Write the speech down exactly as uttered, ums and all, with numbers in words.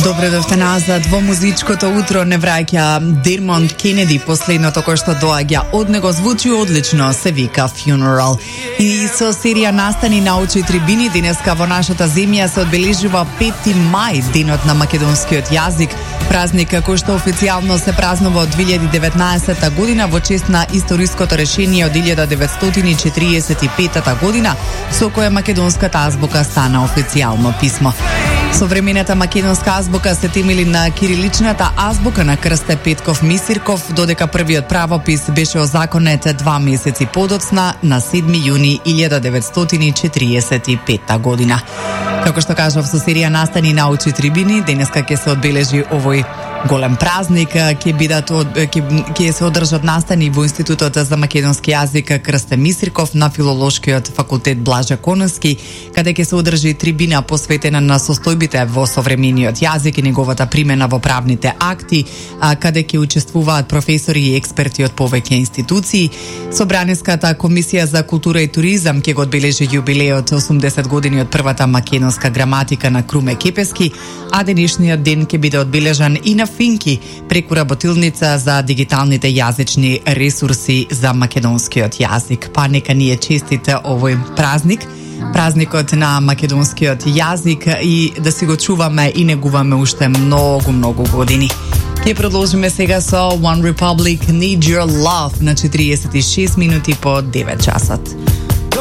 Добре дојдовте назад во музичкото утро. Не враќа Дермонд Кенеди, последното кој што доаѓа од него звучи одлично, се вика Funeral. И со серија настани научи трибини денеска во нашата земја се одбележува пети мај, денот на македонскиот јазик, празник кој што официјално се празнува од две илјади и деветнаесетта година во чест на историското решение од илјада деветстотини четиридесет и петта година, со кое македонската азбука стана официјално писмо. Современата македонска азбука се темели на кириличната азбука на Крсте Петков Мисирков, додека првиот правопис беше озаконет два месеци подоцна на седми јуни илјада деветстотини четиридесет и петта година. Како што кажав, со серија настани научи трибини, денеска ќе се одбележи овој голем празник, ќе бидат ќе ќе се одржат настани во Институтот за македонски јазик Крсте Мисирков на Филолошкиот факултет Блажа Коневски, каде ќе се одржи трибина посветена на состојбите во современиот јазик и неговата примена во правните акти, каде ќе учествуваат професори и експерти од повеќе институции. Собраниската комисија за култура и туризам ќе го одбележи јубилеот осумдесет години од првата македонска граматика на Круме Кепески, а денешниот ден ќе биде одбележан и на Финки преку работилница за дигиталните јазични ресурси за македонскиот јазик. Па нека ни е честит овој празник, празникот на македонскиот јазик, и да си го чуваме и негуваме уште многу, многу години. Ќе продолжиме сега со One Republic, Need Your Love на четириесет и шест минути по девет часот.